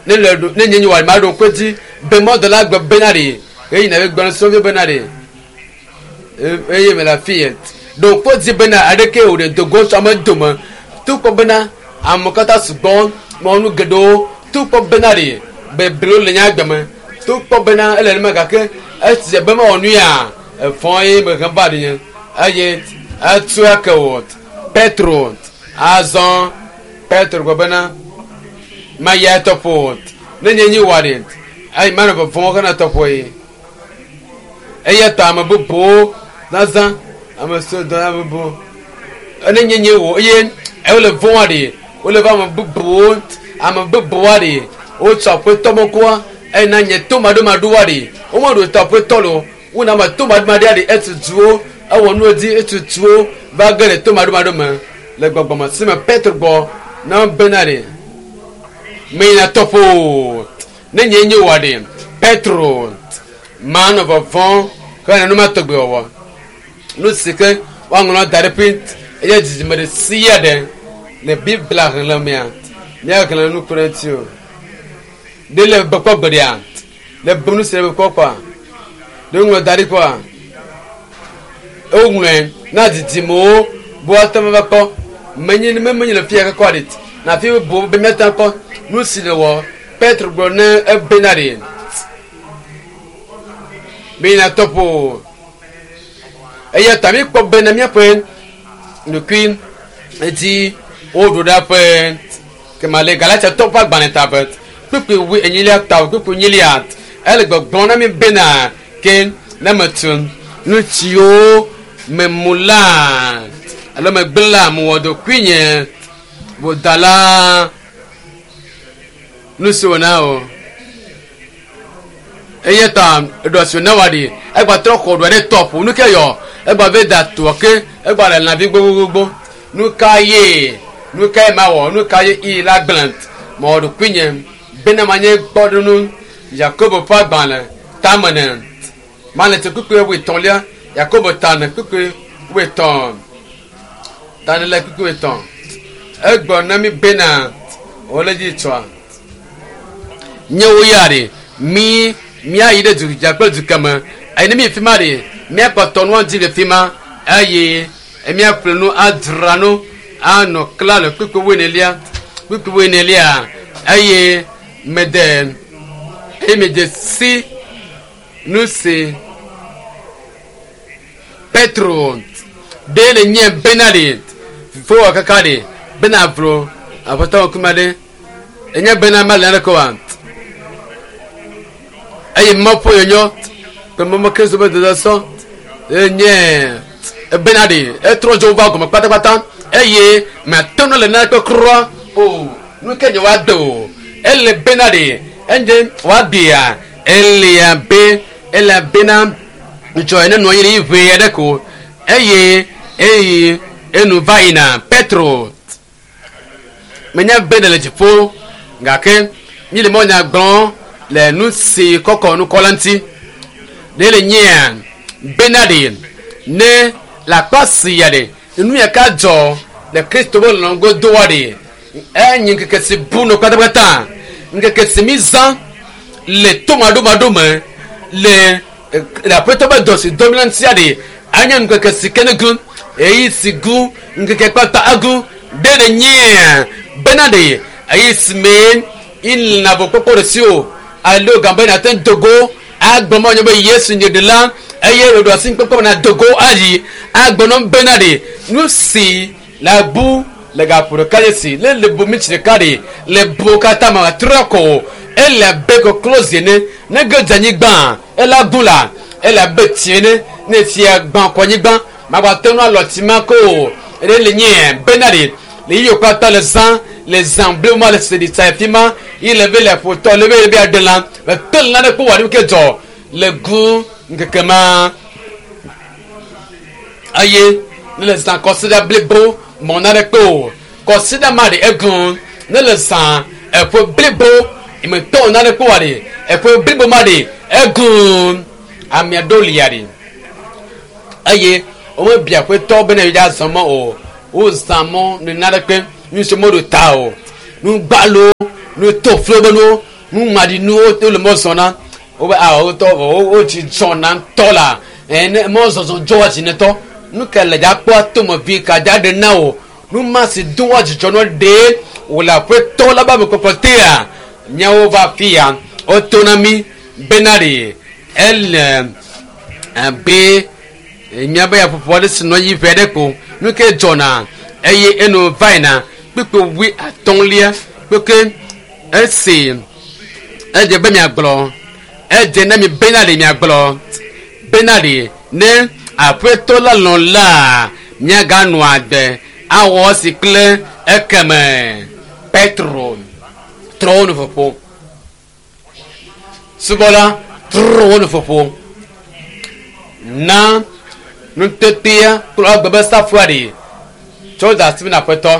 Ne le ɖo ne nye nye wɔ ma ɖo ŋku edzi be mɔdɔla gbe bena ɖe eye na be gblɔ sɔvi bena ɖe eye me le afi yɛ ɖo ŋku edzi bena aɖeke o ɖe dogo tso ame dome to kpɔ bena ame katã sugbɔ mɔ nu geɖewo to kpɔ bena ɖe beblo le nye agbe me to kpɔ bena ele nema gake esi be mewɔ nu ya efɔ ye me hem va ɖe nye eye etu ake wɔ Petro azɔ Petro gblɔ bena mayi etɔƒo ne nye nyi wɔ ɖe eye manɔ vɔvɔm hena tɔƒo ye eya ta ame bubuwo zazã ame siwo dɔ ame bubuwo ne nye nye wɔ eye wole vɔ̃a ɖe wole va ame bubuwo ame bubuwoa ɖe wotsɔ aƒetɔ mɔkɔa eye na nye to maɖomaɖoa ɖe womeɖo tɔ aƒetɔ lo wona ame to maɖomaɖoa ɖe etutuwo ewɔ nu dzi etutuwo va ge ɖe to maɖomaɖo me le gbɔgbɔme si me Petro gbɔ na bena ɖe meyina tɔƒo ne nye nye wɔ ɖe Petro manɔ vɔvɔm hena nu ma tɔgbe wɔwɔ nu si ke woaŋlɔ da ɖe ƒe eye dzidzime ɖe sia ɖe le Biblia xlẽ mea míaxlẽ nu ku ɖe ŋuti o ɖe le be kpɔ gbeɖea le bu nu si le be kpɔ kpɔa ɖe woŋlɔ da ɖi kpɔa woŋlɔe na dzidzimewo be woate ŋu ava kpɔ menye ne menye le fia kɔkɔ ɖe na fi bu be míate ŋu akpɔ nu si le wɔ Petro gblɔ ne ebena ɖe meyina tɔƒo eya ta míkpɔ bena míaƒe nukui dzi woɖo ɖa ƒe kema le Galatiatɔwo ƒe agbalẽ ta ƒe kpukpui wui enyilia ta kpukpui enyilia ele gbɔgblɔm na mi bena ke ne metu nu siwo memu la alo megblẽ la mewɔ ɖokuinye vodala nu si wòna o eya ta eɖɔ si wòna wa ɖi egba trɔ xɔ ɖoa ɖe tɔƒo nu ke yɔ egba ve da toa ke egba le lãvi gbogbogbogbo nu ka ye nu ka ye mawɔ nu ka ye i la gblẽ mewɔ ɖokuinye bena manye kpɔɖeŋu Yakobo ƒe agbalẽ tame ne male tse kpukpui wuietɔ̃lia Yakobo tame kpukpui wuietɔ̃ tame le kpukpui wuietɔ̃ egblɔ na mi bena wole dzi tsɔa nye wo ya ɖe mi míayi ɖe du dza kple du keme eye ne mi fi ma ɖe míakpɔtɔ nua dzi le fi ma eye míaƒle nu adzra nu anɔ kla le kpukpui wuienelia kpukpui wuienelia eye mede eye mede si nu si Petro ɖe le nye bena ɖe fofowɔ kaka ɖe bena vlo aƒetɔ ŋkume ɖe enye bena mele naneke oa eye Mawu ƒe nyɔnyɔ kple Mawu Kristo ƒe dodasɔ enye bena ɖe etrɔ dzo va gɔme kpatakpata eye mate ŋu le naneke kura o nu ke nye woade o ele bena ɖe enye woagbea elia be ele bena ŋutsɔ ene nɔ anyi ɖe ʋee aɖe ko eye eye enu va yina Petro menya be le dziƒo gake mi le mɔ nya gblɔm le nu si kɔkɔ nukɔ la ŋuti ɖe le nyea bena ɖe ne le akpa sia ɖe nu ya ka dzɔ le Kristo be lɔlɔ̃ godoa ɖe enye ŋkeke si bu nɔ kpatakpata ŋkeke si mi zã le tomaɖomaɖo me le le aƒetɔ be dɔ si dɔm la ŋutia ɖe anye ŋkeke si ke ne gu eyi si gu ŋkeke kpakpa agu ɖe le nyea bena ɖe eyi si me ina vo kpɔkpɔ ɖe si o alo gambe na te dogo agblɔ ma nye be Yesu nye ɖela eye ɖoɖo asi kpɔkpɔ na dogo ayi agblɔ nɔ bena ɖe nu si la bu le gaƒo ɖeka dze si ne le bu mitsi ɖeka ɖe le bu katã me trɔ ko ele abe koklozi ene ne ge dze anyigba ela gu la ele abe tsi ene ne tsia gbã kɔ anyigba magba te ŋu alɔ tsi ma ko o ɖe le nye bena ɖe le yiwo katã le zã le zã blibo ma le si ɖi tsa fi ma yi le be le ƒotɔ le be le be aɖe lã le te lã ɖe kpɔ wɔ ɖe ke dzɔ le gu ŋkeke ma eye ne le zã kɔsiɖa blibo mɔ na ɖe kpe o kɔsiɖa ma ɖe egu ne le zã eƒe blibo eme tɔ na ɖe kpe wa ɖe eƒe blibo ma ɖe egu ame aɖewo lia ɖe eye womebia aƒetɔ bena yewoa zɔ mɔ o wozã mɔ ne na ɖe kpe nu si meɖo ta o nu gbalo nu to flo be nuwo Numaɖinuwo wole mɔ zɔm na wobe a wotɔ vɔ wotsi zɔna ŋutɔ la ene mɔzɔzɔ dzɔa dzi ne tɔ. Nu ke le dza kpɔ tomevi ka dza ɖe na wò nu ma si doa dzidzɔ nɔ ɖe wòle aƒetɔ la be amekpɔkpɔ tea míawo va afi ya woto na mí bena ɖe ele abe míabe yaƒoƒo aɖe si nɔ anyi ʋɛ aɖe ko nu ke dzɔna eye eno va yina kpukpui 50 kpekpe esi edze be miagblɔ edze na mi bena ɖe miagblɔ bena ɖe ne aƒetɔ la lɔ̃ la miaganɔ agbe awɔ esi kple ekeme Petro trɔ wo nuƒoƒo subɔla trɔ wo nuƒoƒo na nutetea kple agbe be safua ɖe tsɔ da asi na aƒetɔ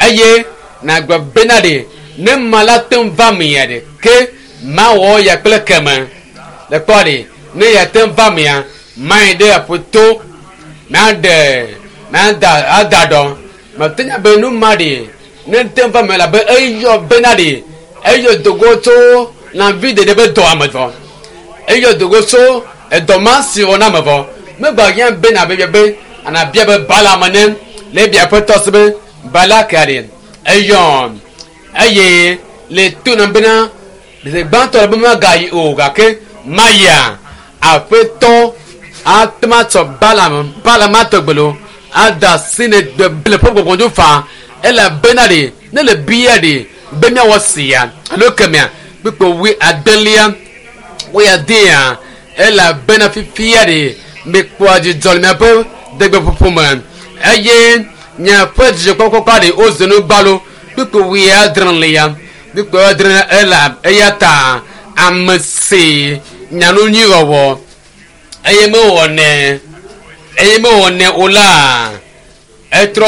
eye nagbe bena ɖe ne ma la te ŋu va mea ɖe ke mawɔ ya kple keme le kpɔ ɖe ne ya te ŋu va mea mayi ɖe aƒeto maɖe mada ada ɖɔ mate nya be nu ma ɖe ne te ŋu va mea labe eyɔ bena ɖe eyɔ dogo tso lãvi ɖeɖe be dɔ ame vɔ eyɔ dogo tso edɔ ma si wɔ na ame vɔ megba hiã bena be be anabia be bala me ne le bia aƒetɔ si be bala ka ɖe eyɔ eye le to na bena le gbãtɔ le be magayi o gake maya aƒetɔ atema tsɔ bala bala ma tɔgbe lo ada si ne gbe le ƒe gbɔgbɔ dzo fa elabena ɖe ne le bia ɖe be miawɔ sia alo kemea kpekpe 70 woya dea elabena fifia ɖe mekpɔa dzidzɔ le miaƒe degbeƒoƒo me eye miaƒe dzidzɔkpɔkpɔ ɖe wozu nu gbalo kpekpe 80 kpekpe 80 ela eya ta ame si nyanu nyui wɔwɔ eye mewɔnɛ eye mewɔnɛ o la etrɔ.